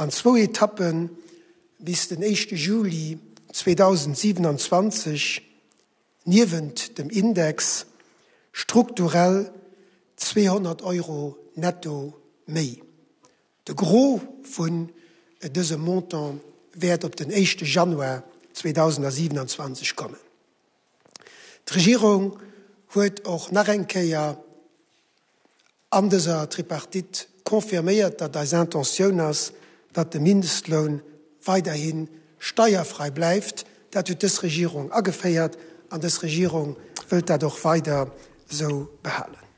An zwou Etappe bis den éischte Juli 2027 niewent dem Index strukturell 200 Euro netto méi. De Gros vun dësem Montant wäert op den éischte Januar 2027 kommen. D'Regierung huet och nach eng Kéier an dëser Tripartite confirméiert, datt eis Intentioun ass, datt de Mindestloun weiderhi steierfrei bleift. Dat huet dës Regierung ageféiert an dës Regierung wëllt dat och weider esou behalen.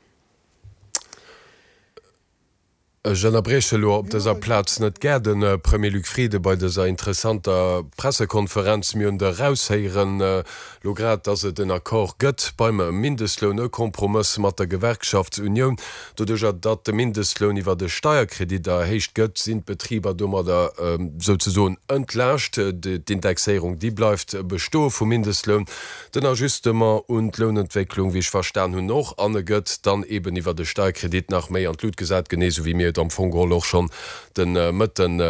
Ech ënnerbrieche elo op dëser Plaz net gär de Premier Luc Frieden bei dëser interessanter Pressekonferenz. Mir hunn et eraushéieren elo grad, datt et en Accord gëtt beim Mindestloun, e Kompromëss mat der Gewerkschaftsunioun. Doduercher, datt de Mindestloun iwwert e Steierkredit erhéicht gëtt, sinn d'Betriber domadder souzesoen entlaascht. D'Indexéierung, déi bleift bestoe vum Mindestloun. Den Ajustement un d'Lounentwécklung, wéi ech verstan hunn, och, an e gëtt dann eben iwwert e Steierkredit nach méi an d'Lut gesat, genee esou wéi mir et am Fong geholl och schonn de Mëtten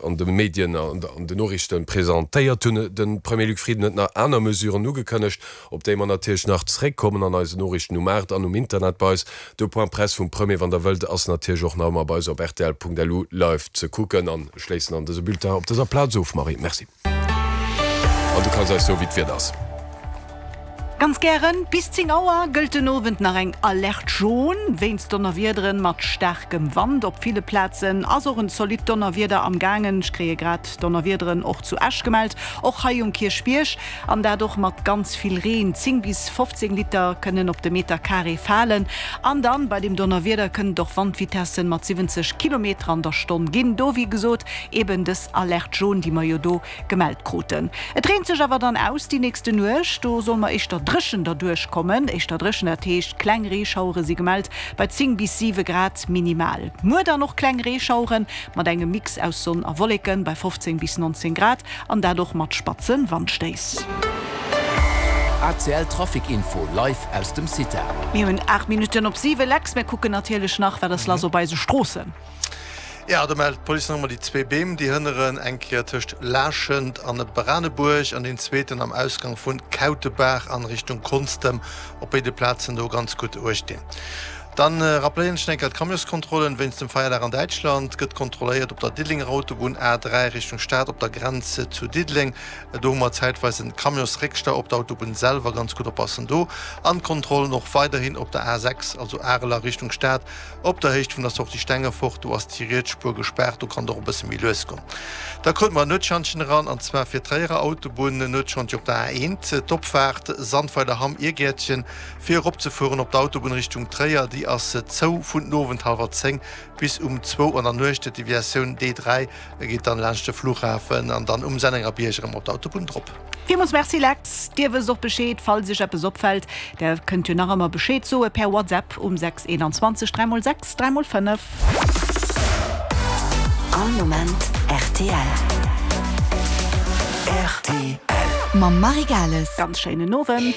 an de Medien, an den Noriichte presentéiert hunn. De Premier Luc Frieden huet nach aner Mesuren ugekënnegt, op déi mer natierlech nach zréckkommen an eisen Noriichten um 8 an um Internet bei eis. De Point Presse vum Premier, wann Der wëllt, ass natierlech och nach ëmmer bei eis op rtl.lu live ze kucken. An ech schléissen dann dëse Bulletin op dëser Plaz of, Marie. Merci. An du kanns eis soen, wéi d'Wieder ass. Ganz gären. Bis 10 Auer gëllt den Owend nach eng Alerte jaune wéinst Donnerwiederen mat staarkem Wand. Op ville Plazen ass och en zolidd Donnerwieder am gaangen. Ech kréie grad Donnerwiederen och zu Esch gemellt, och hei um Kierchbierg, an dat och mat ganz vill Reen. 10 bis 15 Liter kënnen op de Meter Carré falen. An dann bei dem Donnerwieder kënnen et och Wandvitessen mat 70 Kilometer an der Stonn ginn. Do wéi gesot Eben dës Alerte jaune, déi mer jo do gemellt kruten. Et reent sech awer dann aus déi nächste Nuecht. Do soll mer éischter dréchen derduerch kommen. Éischter dréchen, dat heescht kleng Reeschauere si gemellt bei 10 bis 7 Grad minimal. Muer dann och kleng Reeschauere mat engem Mix aus Sonn a Wolleken bei 15 bis 19 Grad an dat och mat spatze Wandstéiss. ACL Trafic Info live aus dem CITA. Mir hunn 8 Minutten op 7. Lex, mir kucken natierlech nach, wat ass lass op eise Stroossen. Jo, do mellt d'Police nach emol déi zwee Beem, déi hënneren, eng Kéier tëscht Laaschent an Branebuerg an deen zweeten am Ausgang vun Kautebaach an Richtung Konstem. Op béide Plazen do ganz gutt uecht dinn. Dann rappléieren ech nach eng Kéier d'Camionskontrollen. Wéinst dem Feierdag an Däitschland gëtt kontrolléiert op der Diddelenger Autobunn A3 Richtung Stad op der Grenz zu Diddeleng. Do hu mer zäitweis en Camionsréckstau op der Autobunn selwer, ganz gutt oppassen do. An d'Kontrollen och weiderhin op der A6, also Arel a Richtung Stad. Op der Héicht vun der Sortie Stengefort, do ass déi riets Spuer gespaart, do kann et och e bësse méi lues goen. Da krute mer en Nuetschantjen eran, an zwar fir d'Tréierer Autobunn, en Nuetschantje op der A1, d'Opfaart Sandweiler-Hamm-Irgäertchen, fir eropzefueren op d'Autobunn Richtung Tréier, déi ass zou vun den Owend hallwer 10 bis um zwou an der Nuecht. D'Deviatioun D3 geet dann laanscht de Flughafen an dann um Sennengerbierg erëm op d'Autobunn drop. Villmools Merci Lex, Dir wësst och Bescheed, falls Iech eppes opfällt, der kënnt jo nach ëmmer Bescheed soe per WhatsApp um 6 21 3 x 6 3 x 5. All Moment rtl. Rtl. Mam Marie Gales. Ganz schéinen Owend.